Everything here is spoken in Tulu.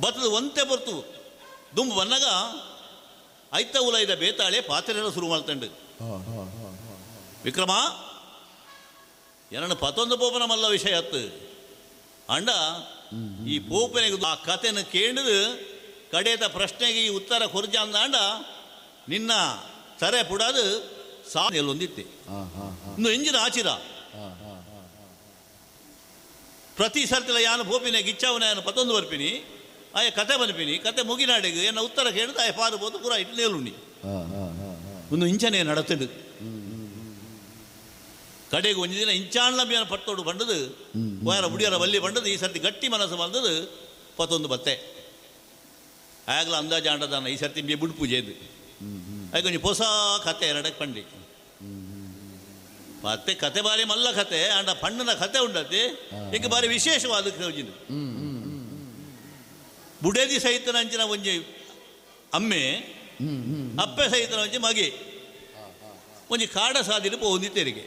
ಬತ್ತದ ಒಂತೆ ಪೊರ್ತು ದುಂಬು ಬನ್ನಗ ಐತ ಉಲೈದ ಬೇತಾಳೆ ಪಾತ್ರೆರ ಶುರು ಮಾಡ್ತಂಡು. ವಿಕ್ರಮ ಏನನ್ನು ಪತೊಂದು ಪೋಪನ ಮಲ್ಲ ವಿಷಯ ಅತ್ತು ಅಂಡ ಈ ಪೋಪನೆಗೆ ಆ ಕತೆನ ಕೇಂಡು ಕಡೇತ ಪ್ರಶ್ನೆಗೆ ಈ ಉತ್ತರ ಕೊರ್ಜ ಅಂದಾಂಡ ನಿನ್ನ ತರೆ ಪುಡಾದು ಸಾ ಎಲ್ಲೊಂದಿತ್ತೆ ಇನ್ನು ಎಂಜಿನ ಆಚಿರ ಪ್ರತಿ ಸರ್ತಿಲ ಯಾನು ಪೋಪಿನ ಗಿಚ್ಚಾವನ ಯಾನು ಪತ್ತೊಂದು ಬರ್ಪಿನಿ ಆಯ ಕತೆ ಬನ್ಪಿನಿ ಕತೆ ಮುಗಿನಾಡಿಗೆ ಎನ್ನ ಉತ್ತರ ಕೇಳಿದ ಆಯ ಪಾರಬೋದು ಪೂರ ಇಟ್ಟು ನೇಲುಂಡಿ ಒಂದು ಇಂಚನೆ ನಡತದು. ಕಡೆಗೆ ಒಂದು ದಿನ ಇಂಚಾಣ್ಲಂಬಿಯನ ಪಟ್ಟೋಡು ಬಂಡದು ವಾರ ಬುಡಿಯರ ಬಲ್ಲಿ ಬಂಡದು ಈ ಸರ್ತಿ ಗಟ್ಟಿ ಮನಸ್ಸು ಬಂದದು ಪತ್ತೊಂದು ಬತ್ತೆ ಆಗಲ ಅಂದಾಜು ಆಂಡದಾನ ಈ ಸರ್ತಿ ಬಿ ಬುಡ್ ಪೂಜೆ ಇದು ಅದಕ್ಕೆ ಒಂಜಿ ಹೊಸ ಕತೆ ಎರಡಕ್ಕೆ ಪಂಡಿ ಮತ್ತೆ ಕತೆ ಬಾರಿ ಮಲ್ಲ ಕತೆ ಅಂಡ ಪಣ್ಣನ ಕತೆ ಉಂಡತಿ ಈಗ ಬಾರಿ ವಿಶೇಷವಾದ ಕೌಜಿನ ಬುಡೇದಿ ಸಹಿತನ ಅಂಚಿನ ಒಂಜಿ ಅಮ್ಮೆ ಅಪ್ಪೆ ಸಹಿತನ ಒಂಜಿ ಮಗೆ ಒಂಜಿ ಕಾಡ ಸಾದಿನ ಪೋಂದಿ ತೆರಿಗೆ.